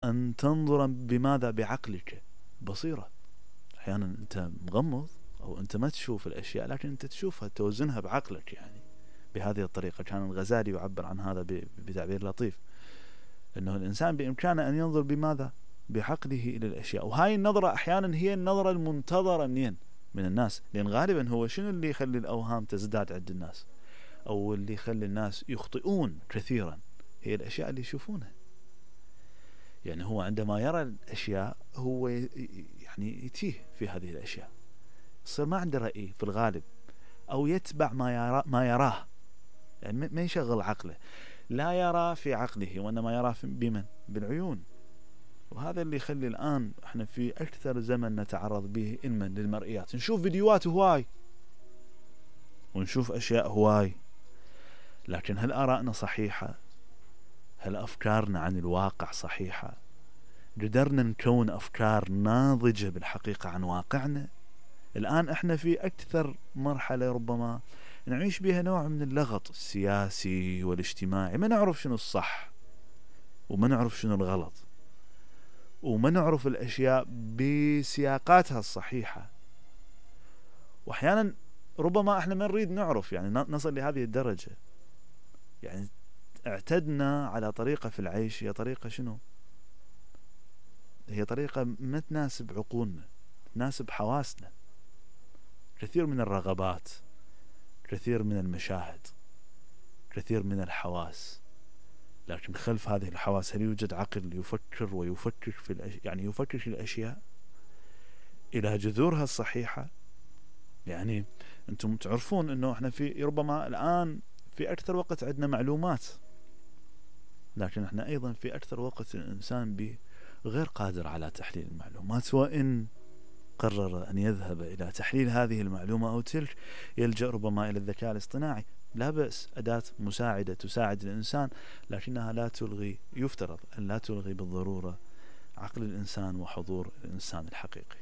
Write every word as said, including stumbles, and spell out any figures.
أن تنظر بماذا؟ بعقلك، بصيرة. أحيانا أنت مغمض أو أنت ما تشوف الأشياء، لكن أنت تشوفها، توزنها بعقلك. يعني بهذه الطريقة كان الغزالي يعبر عن هذا بتعبير لطيف، أنه الإنسان بإمكانه أن ينظر بماذا؟ بعقله إلى الأشياء. وهاي النظرة أحيانا هي النظرة المنتظرة منين؟ من الناس. لأن غالبا هو شنو اللي يخلي الأوهام تزداد عند الناس، أو اللي يخلي الناس يخطئون كثيرا؟ هي الأشياء اللي يشوفونها. يعني هو عندما يرى الأشياء هو يعني يتيه في هذه الأشياء، يصير ما عنده رأي في الغالب، أو يتبع ما يرى ما يراه، يعني ما يشغل عقله، لا يرى في عقله وإنما يرى بمن؟ بالعيون. وهذا اللي يخلي الآن احنا في أكثر زمن نتعرض به علما للمرئيات، نشوف فيديوهات هواي ونشوف أشياء هواي، لكن هل آرائنا صحيحة؟ هل أفكارنا عن الواقع صحيحة؟ قدرنا نكون أفكار ناضجة بالحقيقة عن واقعنا؟ الآن احنا في أكثر مرحلة ربما نعيش بها نوع من اللغط السياسي والاجتماعي، ما نعرف شنو الصح وما نعرف شنو الغلط، وما نعرف الأشياء بسياقاتها الصحيحة. وأحيانا ربما احنا ما نريد نعرف، يعني نصل لهذه الدرجة. يعني اعتدنا على طريقة في العيش، هي طريقة شنو؟ هي طريقة ما تناسب عقولنا، تناسب حواسنا. كثير من الرغبات، كثير من المشاهد، كثير من الحواس، لكن خلف هذه الحواس هل يوجد عقل يفكر ويفكر في الأش... يعني يفكر في الأشياء إلى جذورها الصحيحة؟ يعني أنتم تعرفون أنه احنا في ربما الآن في أكثر وقت عندنا معلومات، لكن احنا أيضا في أكثر وقت الإنسان به غير قادر على تحليل المعلومات، وإن قرر أن يذهب إلى تحليل هذه المعلومة أو تلك يلجأ ربما إلى الذكاء الاصطناعي. لا بأس، أداة مساعدة تساعد الإنسان، لكنها لا تلغي، يفترض أن لا تلغي بالضرورة عقل الإنسان وحضور الإنسان الحقيقي.